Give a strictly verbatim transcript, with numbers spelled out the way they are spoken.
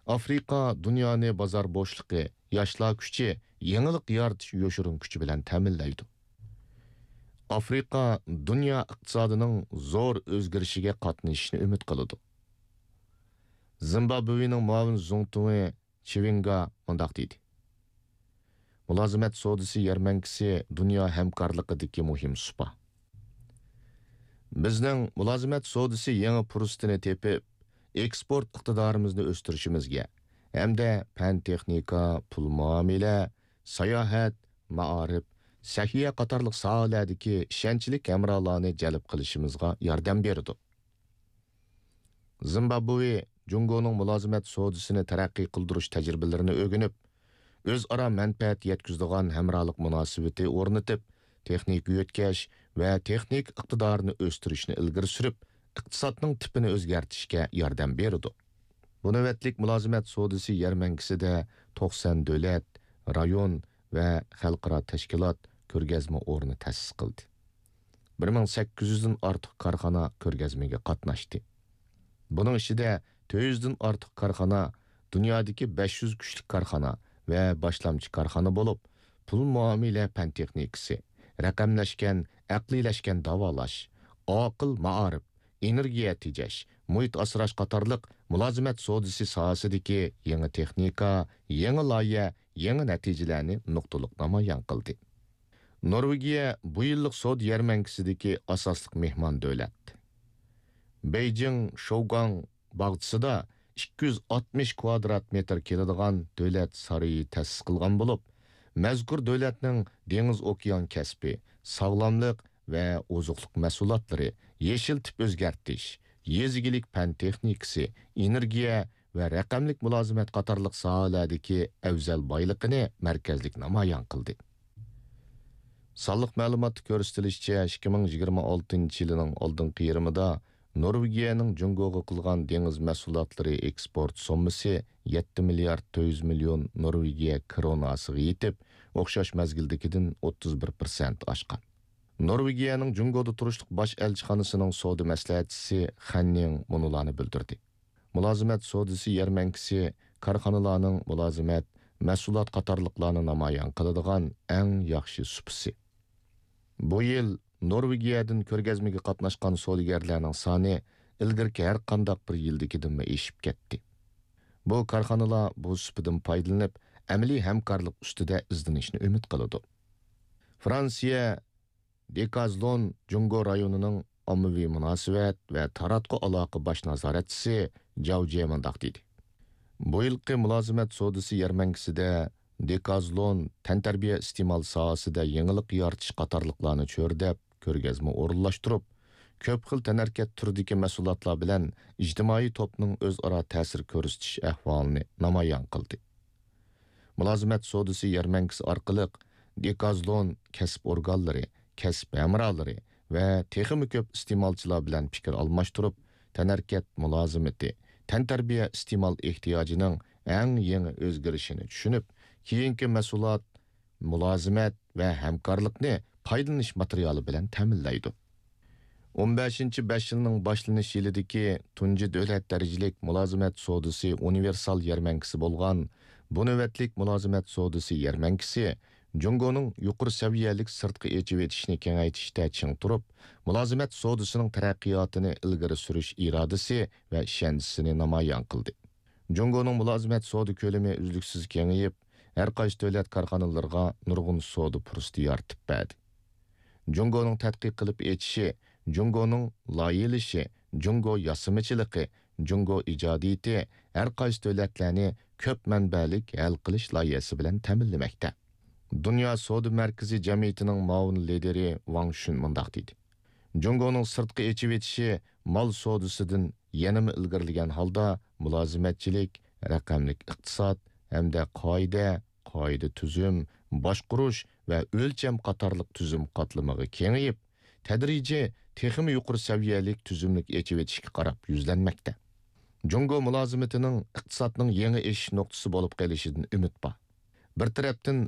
ئافرىقا دۇنيانى بازار بوشلۇقى، ياشلار كۈچى، يېڭىلىق يارىتىش يوشۇرۇن كۈچى بىلەن تەمىنلەيدۇ. ئافرىقا دۇنيا ئىقتىسادىنىڭ زور ئۆزگىرىشىگە قاتنىشىشنى ئۈمىد قىلىدۇ. زىمبابۋېنىڭ مۇئاۋىن زۇڭتۇڭى چىۋىنگا مۇنداق دېدى: مۇلازىمەت سودىسى يەرمەنكىسى دۇنيا ھەمكارلىقىدىكى مۇھىم سۇپا. بىزنىڭ مۇلازىمەت سودىسى يېڭى پۇرسىتىنى تېپىپ، ئېكسپورت ئىقتىدارىمىزنى ئۆستۈرۈشىمىزگە ھەمدە پەن-تېخنىكا، پۇل مۇئامىلە، ساياھەت، مائارىپ، سەھىيە قاتارلىق ساھەلەردىكى ئىشەنچلىك ھەمراھلارنى جەلپ قىلىشىمىزغا ياردەم بېرىدۇ. زىمبابۋې جۇڭگونىڭ مۇلازىمەت سودىسىنى تەرەققىي قىلدۇرۇش تەجرىبىلىرىنى ئۆگىنىپ، ئۆزئارا مەنپەئەت يەتكۈزىدىغان ھەمراھلىق مۇناسىۋىتى ئورنىتىپ، تېخنىكا يۆتكەش ۋە تېخنىكا ئىقتىدارىنى ئۆستۈرۈشنى ئىلگىرى سۈرۈپ، ئىقتىسادنىڭ تىپىنى ئۆزگەرتىشكە ياردەم بېرىدۇ. بۇ نۆۋەتلىك مۇلازىمەت سودىسى يەرمەنكىسىدە توقسان دۆلەت، رايون ۋە خەلقئارا تەشكىلات كۆرگەزمە ئورنى تەسىس قىلدى. بىر مىڭ سەككىز يۈزدىن ئارتۇق كارخانا كۆرگەزمىگە قاتناشتى. بۇنىڭ ئىچىدە تۆت يۈزدىن ئارتۇق كارخانا دۇنيادىكى بەش يۈز كۈچلۈك كارخانا ۋە باشلامچى كارخانا بولۇپ، پۇل مۇئامىلە پەن تېخنىكىسى، رەقەملەشكەن، ئەقلىيلەشكەن داۋالاش، ئاقىل مائارىپ، ئېنېرگىيە تېجەش، مۇھىت ئاسراش قاتارلىق مۇلازىمەت سودىسى ساھەسىدىكى يېڭى تېخنىكا، يېڭى لايىھە، يېڭى نەتىجىلەرنى نۇقتىلىق نامايان قىلدى. نورۋېگىيە بۇ يىللىق سودا يەرمەنكىسىدىكى ئاساسلىق مېھمان دۆلەت. بېيجىڭ شوگاڭ باغچىسىدا ئىككى يۈز ئاتمىش كۋادرات مېتىر كېلىدىغان دۆلەت سارىيى تەسىس قىلغان بولۇپ، مەزكۇر دۆلەتنىڭ دېڭىز ئوكيان كەسپى، ساغلاملىق ۋە ئوزۇقلۇق مەھسۇلاتلىرى، يېشىل تىپ ئۆزگەرتىش، يېزا ئىگىلىك پەن تېخنىكىسى، ئېنېرگىيە ۋە رەقەملىك مۇلازىمەت قاتارلىق ساھەلەردىكى ئەۋزەل بايلىقىنى مەركەزلىك نامايان قىلدى. سانلىق مەلۇماتتا كۆرسىتىلىشىچە، ئىككى مىڭ يىگىرمە ئالتىنچى يىلىنىڭ ئالدىنقى يېرىمىدا نورۋېگىيەنىڭ جۇڭگوغا قىلغان دېڭىز مەھسۇلاتلىرى ئېكسپورت سوممىسى يەتتە مىليارد تۆت يۈز مىليون نورۋېگىيە كروناسىغا يېتىپ، ئوخشاش مەزگىلدىكىدىن ئوتتۇز بىر پىرسەنت ئاشقان. نورۋېگىيەنىڭ جۇڭگودا تۇرۇشلۇق باش ئەلچىخانىسىنىڭ سودا مەسلىھەتچىسى خەن نىڭ مۇنۇلارنى بىلدۈردى. مۇلازىمەت سودىسى يەرمەنكىسى كارخانىلارنىڭ مۇلازىمەت، مەھسۇلات قاتارلىقلارنى نامايان قىلىدىغان ئەڭ ياخشى سۇپىسى. بۇ يىل نورۋېگىيەدىن كۆرگەزمىگە قاتناشقان سودىگەرلەرنىڭ سانى ئىلگىرىكى ھەر قانداق بىر يىلدىكىدىنمۇ ئېشىپ كەتتى. بۇ كارخانىلار بۇ سۇپىدىن پايدىلىنىپ، ئەمەلىي ھەمكارلىق ئۈستىدە ئىزدىنىشنى ئۈمىد قىلىدۇ. فرانسىيە دېكازلون جۇڭگو رايونىنىڭ ئاممىۋى مۇناسىۋەت ۋە تاراتقۇ ئالاقە باش نازارەتچىسى جاۋ جيې مۇنداق دېدى: بۇ يىلقى مۇلازىمەت سودىسى يەرمەنكىسىدە دېكازلون تەنتەربىيە ئىستېمال ساھەسىدە يېڭىلىق يارىتىش قاتارلىقلارنى چۆرىدەپ، كۆرگەزمە ئورۇنلاشتۇرۇپ، كۆپ خىل تەنھەرىكەت تۈرىدىكى مەھسۇلاتلار بىلەن ئىجتىمائىي توپنىڭ ئۆزئارا تەسىر كۆرسىتىش ئەھۋالىنى نامايان قىلدى. مۇلازىمەت سودىسى يەرمەنكىسى ئارقىلىق دېكازلون كەسىپ ئورگانلىرى، كەسىپ ھەمراھلىرى ۋە تېخىمۇ كۆپ ئىستېمالچىلار بىلەن پىكىر ئالماشتۇرۇپ، تەنھەرىكەت مۇلازىمىتى، تەنتەربىيە ئىستېمال ئېھتىياجىنىڭ ئەڭ يېڭى ئۆزگىرىشىنى چۈشىنىپ، كېيىنكى مەھسۇلات، مۇلازىمەت ۋە ھەمكارلىقنى پايدىلىنىش ماتېرىيالى بىلەن تەمىنلەيدۇ. ئون بەشىنچى بەش يىلنىڭ باشلىنىش يىلىدىكى تۇنجى دۆلەت دەرىجىلىك مۇلازىمەت سودىسى ئۇنىۋېرسال يەرمەنكىسى بولغان بۇ نۆۋەتلىك مۇلازىمەت سودىسى يەرمەنكىسى جۇڭگونىڭ يۇقىرى سەۋىيەلىك سىرتقا ئېچىۋېتىشنى كېڭەيتىشتە چىڭ تۇرۇپ، مۇلازىمەت سودىسىنىڭ تەرەققىياتىنى ئىلگىرى سۈرۈش ئىرادىسى ۋە ئىشەنچىسىنى نامايان قىلدى. جۇڭگونىڭ مۇلازىمەت سودا كۆلىمى ئۈزلۈكسىز كېڭىيىپ، ھەر قايسى دۆلەت كارخانىلىرىغا نۇرغۇن سودا پۇرسىتى يارىتىپ بەردى. جۇڭگونىڭ تەتقىق قىلىپ ئېچىشى، جۇڭگونىڭ لايىھەلىشى، جۇڭگو ياسىمىچىلىقى، جۇڭگو ئىجادىيىتى ھەر قايسى دۆلەتلەرنى كۆپ مەنبەلىك ھەل قىلىش لايىھەسى بىلەن تەمىنلىمەكتە. دۇنيا سودا مەركىزى جەمئىيىتىنىڭ مۇئاۋىن لىدىرى ۋاڭ شۈن مۇنداق دېدى: جۇڭگونىڭ سىرتقا ئېچىۋېتىشى مال سودىسىدىن يەنىمۇ ئىلگىرىلىگەن ھالدا مۇلازىمەتچىلىك، رەقەملىك ئىقتىساد ھەمدە قائىدە، قائىدە تۈزۈم، باشقۇرۇش ۋە ئۆلچەم قاتارلىق تۈزۈم قاتلىمىغا كېڭىيىپ، تەدرىجىي تېخىمۇ يۇقىرى سەۋىيەلىك تۈزۈملۈك ئېچىۋېتىشكە قاراپ يۈزلەنمەكتە. جۇڭگو مۇلازىمىتىنىڭ ئىقتىسادنىڭ يېڭى ئېشىش نۇقتىسى بولۇپ قېلىشىدىن ئۈمىد بار. بىر تەرەپتىن،